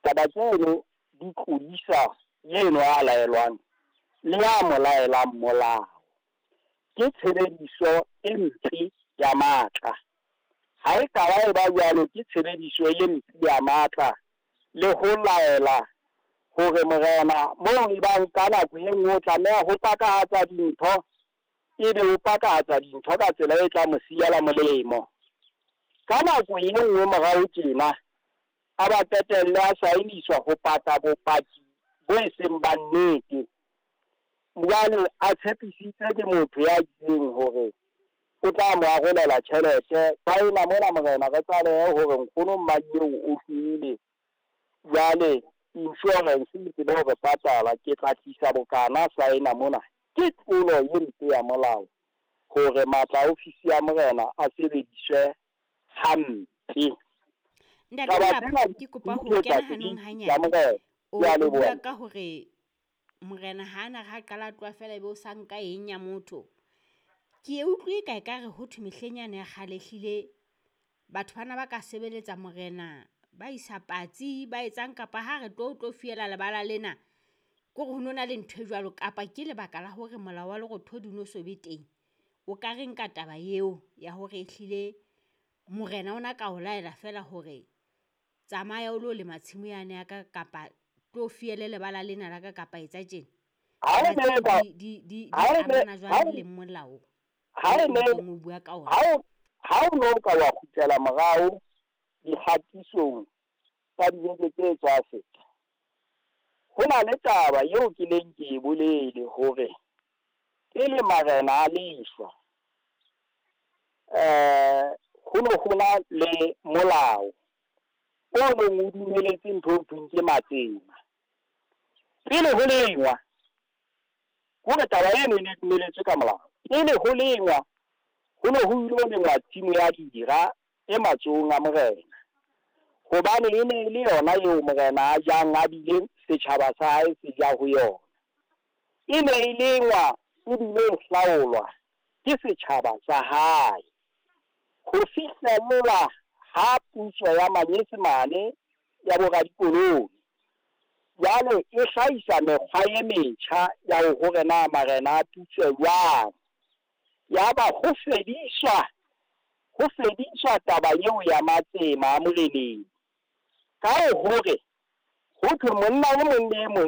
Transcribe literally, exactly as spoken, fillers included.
Taba tseno di tlodisa eno a laelwang le ya mo laelang molao. Ke tshebediso e mpe ya matla. Ha e ka ba e ba jwalo, ke tshebediso e mpe ya matla le ho laela hore morena moo e bang ka nako e nngwe o tlameha ho pakahatsa dintho, ebe o pakahatsa dintho ka tsela e tla mo siela molemo. Ka nako e nngwe morao tjena, a ba qetelle a saeniswa ho paka bopaki bo e seng ba nnete. Jwale a tshepisitse ke motho ya itseng hore o tla mo arolela tjhelete. Saena mona morena re tlalehe hore nkgono Mmadieo o shwele. Jwale insurance e tsebe hore patala, ke tla tlisa bokana, saena mona. Ke tlolo e mpe ya molao hore matla a ofisi ya morena a sebediswe hampe. Ntate Taba Molapo, tsena ke kopa di ho etsa kena hanong ya hanyane. morena. O Ke a o leboha. bua ka hore morena ha na ha qala a tloha feela ebe o sa nka eng ya motho. Ke e utlwe ka ekare ho thwe mehleng yane ya kgale ehlile batho bana ba ka sebeletsa morena, ba isa patsi, ba etsang kapa ha re tlo tlo fiela lebala lena. Kore ho no na le ntho e jwalo kapa ke lebaka la hore molao wa Lerothodi o no so be teng. O ka reng ka taba eo ya hore ehlile morena ona ka o laela feela hore tsamaya o lo lema tshimo yane ya ka kapa tlo fiele lebala lena la ka kapa etsa tjena? Ha e Taba ne tseo ba di di di di ha e ne amana ha jwang o le molao ha o e o ne ntseng o bua ka ona? ha o ha o no ka wa kgutlela morao dikgatisong tsa dibeke tse tswa feta, ho na le taba eo ke neng ke e bolele hore pele marena a leshwa, eh ho no ho na le molao o neng o dumeletse ntho e thweng ke matsema. Pele ho lengwa, hore taba eno e ne dumeletswe ka molao. Pele ho lengwa, ho ne ho ilo lengwa tshimo ya dira e matsohong a morena. Hobane e ne e le yona eo morena a jang a bile setjhaba sa hae se ja ho yona. E ne e lengwa ebile e hlaolwa ke setjhaba sa hae. Ho fihlella ha puso ya Manyesemane ya bo radikoloni, jwale e hlahisa mekgwa e metjha ya hore na marena a putswe jwang. Yaba ho fediswa, ho fediswa taba eo ya matsema a moreneng. Ka hore ho thwe monna e mong le e mong